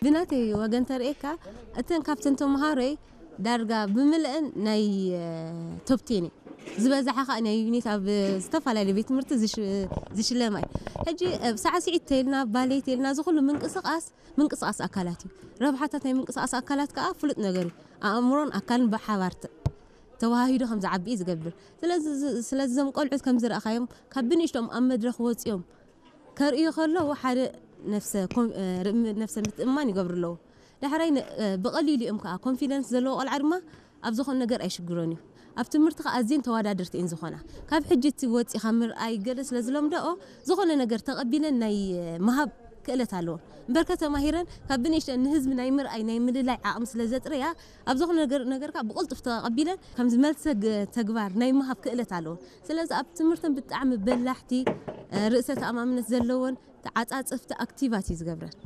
ብናተይ ወገን ተርእየካ፣ እተን ካብተን ተምሃሮይ ዳርጋ ብምልአን ናይ ቶፕቴን ዝበዝሓ ከዓ ናይ ዩኒት ኣብ ዝተፈላለዩ ቤት ትምህርቲ ዝሽለማ እዩ። ሕጂ ሳዕስዒት ተልና፣ ባሌት ተልና፣ ዝኩሉ ምንቅስቃስ ምንቅስቃስ ኣካላት እዩ። ረብሓታት ናይ ምንቅስቃስ ኣካላት ከዓ ፍሉጥ ነገር እዩ። ኣእምሮን ኣካልን ብሓባር ተዋሃሂዶ ከም ዝዓቢ እዩ ዝገብር። ስለዚ እዞም ቆልዑት ከም ዝረእካዮም ካብ ብንእሽቶም ኣብ መድረክ ወፂኦም ከርእዩ ከለዉ ሓደ ነፍሰ ምትእምማን ይገብሩ ኣለዉ። ዳሕራይ ብቐሊሉ እዮም ከዓ ኮንፊደንስ ዘለዎ ቆልዓ ድማ ኣብ ዝኾነ ነገር ኣይሽግሮን እዩ። ኣብ ትምህርቲ ከዓ ኣዝየን ተወዳደርቲ እየን ዝኾና። ካብ ሕጂ እቲ ወፂኻ ምርኣይ ገለ ስለ ዝለምደኦ ዝኾነ ነገር ተቐቢለን ናይ ምሃብ ክእለት ኣለዎን። እምበርከ ተማሂረን ካብ ብንእሽተን ንህዝቢ ናይ ምርኣይ ናይ ምልላይ ዓቕሚ ስለ ዘጥረያ ኣብ ዝኾነ ነገር ነገርካ ብቕልጡፍ ተቐቢለን ከም ዝመልሰ ተግባር ናይ ምሃብ ክእለት ኣለዎን። ስለዚ ኣብ ትምህርተን ብጣዕሚ በላሕቲ፣ ርእሰ ተኣማምነት ዘለዎን ተዓፃፅፍቲ ኣክቲቫት እዩ ዝገብረን።